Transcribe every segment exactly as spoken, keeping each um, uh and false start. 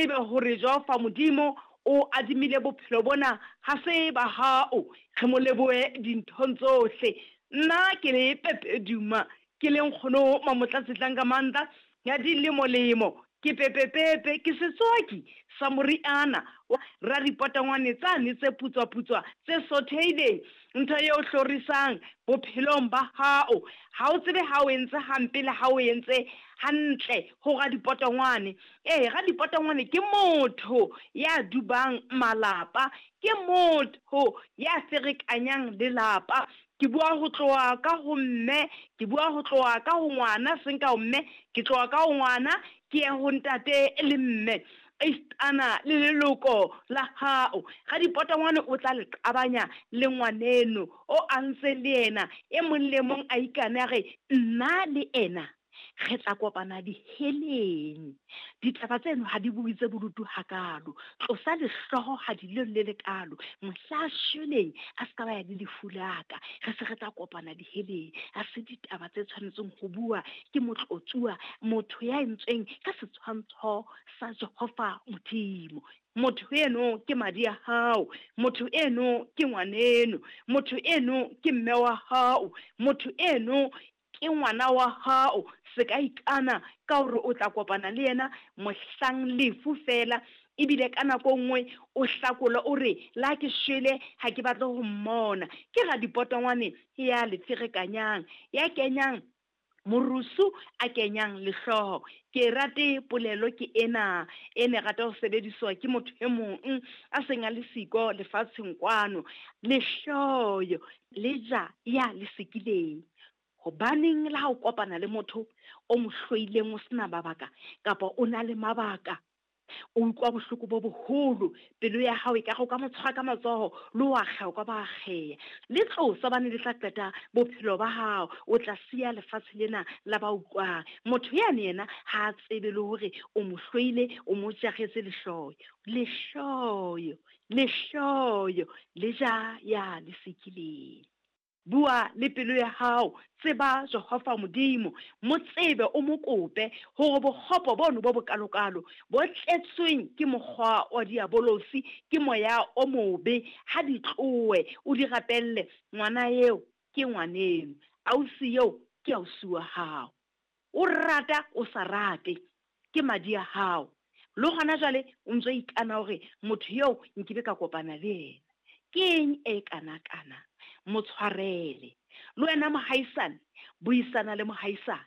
tsebe hore Jehova Modimo o adimile bophelo bona ha se ba hao. Re mo lebohe dinthong tsohle. Nna ke le Pepe Duma, ke le nkgono Mamotlatsi Tlankamandla ya dilemolemo, ke pepepepe, ke setswaki sa moriana wa ripotangwane tsane tse putswa-putswa tse sothehileng, ntho eo hlorisang bophelong ba hao. Ha o tsebe ha o entse hampe le ha o entse hantle ho radipotongwane. Ee, radipotongwane ke motho ya dubang malapa, ke motho ya ferekanyang lelapa. Ke bua ho tloha ka ho mme, ke bua ho tloha ka ho ngwana, seng ka ho mme, ke tloha ka ho ngwana ke ye ho ntate le mme, esitana le leloko la hao. Radipotongwane o tla le qabanya le ngwaneno o a ntse le yena, e mong le mong a ikane a re nna le ena re tla kopana diheleng. Ditaba tseno ha di bue tse bodutu hakalo, tlosa lehloho ha di le le lekalo, mohla shweleng a ska ba ya le lefu la ka, re se re tla kopana diheleng. Ha se ditaba tse tshwanetseng ho bua ke motlotsuwa, motho ya entsweng ka setshwantsho sa Jehova Modimo. Motho eno ke madi a hao, motho eno ke ngwaneno, motho eno ke mme wa hao, motho eno ke ngwana wa hao. Se ka ikana ka hore o tla kopana le yena mohlang lefu fela, ebile ka nako nngwe o hlakola o re la ke shwele ha ke batle ho mmona. Ke radipotongwane ya le ferekanyang, ya kenyang morusu, a kenyang lehloho. Ke rate polelo ke ena e ne rata ho sebediswa ke motho e mong a seng a le siko lefatsheng kwano. Lehloyo le ja ya le sekileng. Hobaneng le ha o kopana le motho o mo hloileng o sena mabaka kapa o na le mabaka, o utlwa bohloko bo boholo, pelo ya hao e ka re o ka mo tshwara ka matsoho le wa akgeha, o ka ba akgeha. Le tlosa hobane le tla qeta bophelo ba hao, o tla siya lefatshe lena la ba utlwang. Motho yane yena ha a tsebe le hore o mo hloile, o mo jaretse lehloyo. Lehloyo, lehloyo le ja ya le sekileng. Bua le pelo ya hao, tseba Jehova Modimo, mo tsebe, o mo kope hore bokgopo bono bo bokalokalo bo tletsweng ke mokgwa wa diabolosi, ke moya o mobe, ha di tlohe, o di rapelle. Ngwana eo ke ngwaneno, ausi eo ke ausi wa hao, o rata o sa rate, ke madi a hao. Le hona jwale o ntso ikana hore motho eo nkebe ka kopana le yena. Ke eng e kanakana? Mo tshwarele. Le wena mohaisane, buisana le mohaisane.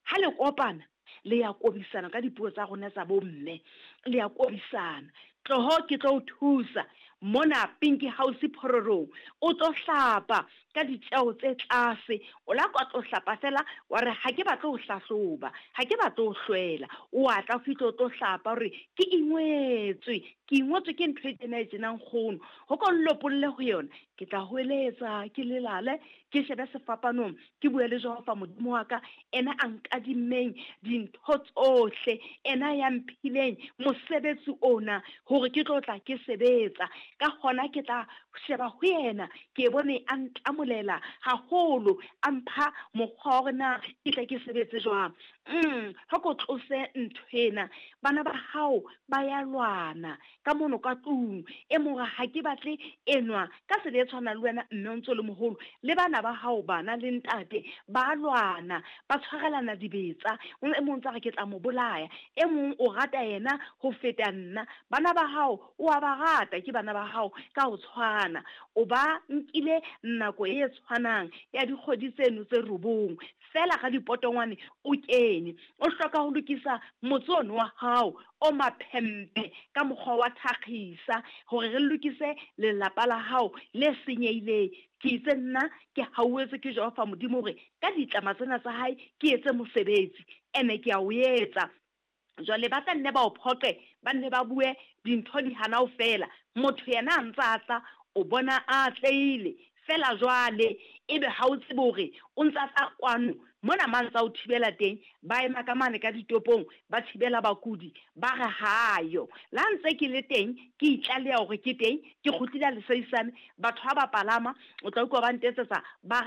Ha le kopana, le ya kobisana ka dipuo tsa rona tsa bomme, le ya kobisana. Tloho ke tlo o thusa mona Pinky House Phororong, o tlo hlapa ka ditjeo tse tlase. O la ka tlo hlapa fela wa re ha ke batle ho hlahloba, ha ke batle ho hlwela. O a tla fihle o tlo hlapa hore ke ingwetswe, ke ingwetswe ke ntho e tjena e tjena nkgono. Ho ko nlopolle ho yona, ke tla hweletsa, ke lelale, ke shebe sefapanong, ke bue le Jehova Modimo wa ka, ena a nkadimmeng dintho tsohle, ena ya mphileng mosebetsi ona hore ke tlo tla ke sebetsa. Ka hona ke tla sheba ho yena, ke bone a ntlamolela haholo, a mpha mokgwa wa hore na ke tle ke sebetse jwang. Mm, ha ko tlose ntho ena. Bana ba hao ba ya lwana ka mono ka tlung, e mong ha ke batle enwa ka tsela e tshwanang le wena mme o ntso le moholo, le bana ba hao bana le ntate ba lwana, ba tshwarelana dibetsa. E mong tsa re ke tla mo bolaya, e mong o rata yena ho feta nna. Bana ba hao o a ba rata, ke bana ba hao ka ho tshwana, o ba nkile nako e tshwanang ya dikgwedi tseno tse robong fela ga dipotongwane o kene. O hloka ho lokisa motse ono wa hao o maphempe ka mokgwa wa thakgisa hore re lokise lelapa la hao le senyehileng. Ke itse nna ke hauetswe ke Jehova Modimo hore ka ditlama tsena tsa hae ke etse mosebetsi, ene ke a o etsa. Jwale ba tla nne ba o phoqe, ba nne ba bue dintho di hana ho fela. Motho yena a ntsa tla, o bona a atlehile fela jwale, ebe ha o tsebe hore o ntsa tla kwano mona mang tsa o thibela teng. Ba ema ka mane ka ditopong, ba thibela bakudi, ba re hayo. La ntse ke le teng, ke itlaleha hore ke teng, ke kgutlile leseisane, batho ha ba palama, o tla utlwa ba ntetsetsa ba